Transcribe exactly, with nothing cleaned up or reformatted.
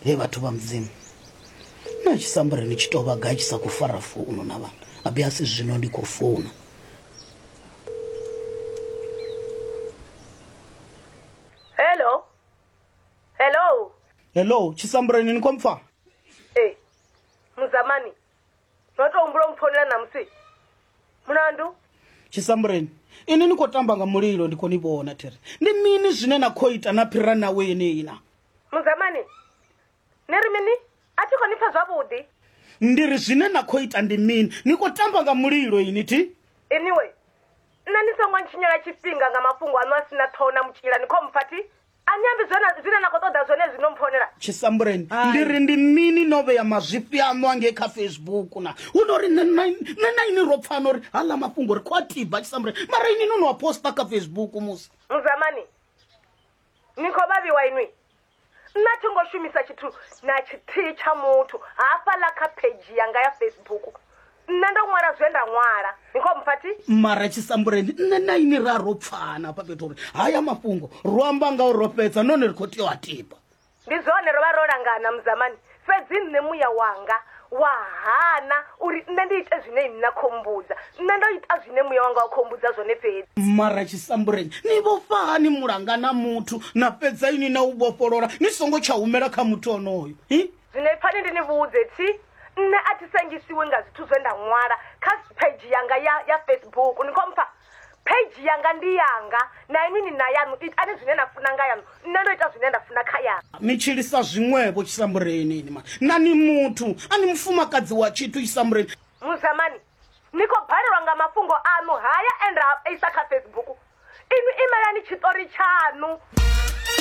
He vhathu vha Mudzimu, na Tshisambureni tshi tou vha gai tshi sa khou fara founu na vhana abe asi zwino ndi khou founa. Hello, hello. Hello Tshisambureni, ni khou mpfa? Ee Muzamani, no tou humbula u mpfounela ṋamusi mulandu? Tshisambureni, ini ni khou tamba nga mulilo, ndi khou ni vhona there. Ndi mini zwine na khou ita na phira nawe yeneyi na? Muzamani, ni ri mini? A thi khou ni pfa zwavhuḓi. Ndi ri zwine na khou ita ndi mini? Ni khou tamba nga mulilo ini thi? Anyway, nṋe ni songo ntshinyela tshifhinga nga mafhungo aṋu a sina ṱhoho na mutshila, ni khou mpfa thi? A ni ambi zwone zwine na khou ṱoḓa zwone zwino mpfonela. Tshisambureni, ndi ri ndi mini no vhea mazwifhi aṋu angei kha Facebook na? Hu no ri nṋe na ini ro pfana uri haḽa mafhungo ri khou a tiba Tshisambureni, mara ini no no a posta kha Facebook musi. Muzamani, ni khou vhavhiwa inwi. Nṋe a thi ngo shumisa tshithu na tshithihi tsha muthu hafhaḽa kha pheidzhi yanga ya Facebook. Nṋe ndo ṅwala zwe nda ṅwala, ni khou mpfa thi? Mara Tshisambureni, nṋe na ini ra ro pfana hafha fhethu uri haya mafhungo ro amba nga uri ro fhedza nahone ri khou tea u a tiba. Ndi zwone ro vha ro langana Muzamani, fhedzi nṋe muya wanga wa hana uri nṋe ndi ite zwine inwi na khou mbudza. Nṋe ndo ita zwine muya wanga wa khou mbudza zwone fhedzi. Mara Tshisambureni, ni vhofha hani mulanga na muthu na fhedza ini na u vhofholola ni songo tsha humela kha muthu onoyo? Zwino ipfani ndi ni vhudze thi, nṋe a thi sengisiwi nga zwithu zwe nda ṅwala kha page yanga ya, ya Facebook. Ni khou mpfa? Page yanga ndi yanga, na inwi ni na yaṋu, itani zwine na funa nga yaṋu. Nṋe ndo ita zwine nda funa kha yanga. Ni tshilisa zwiṅwevho Tshisambureni ini mani. Na ni muthu, a ni mufumakadzi wa tshithu Tshisambureni. Muzamani, ni khou balelwa nga mafhungo aṋu haya e nda isa kha Facebook. Inwi imelani tshiṱori tshaṋu.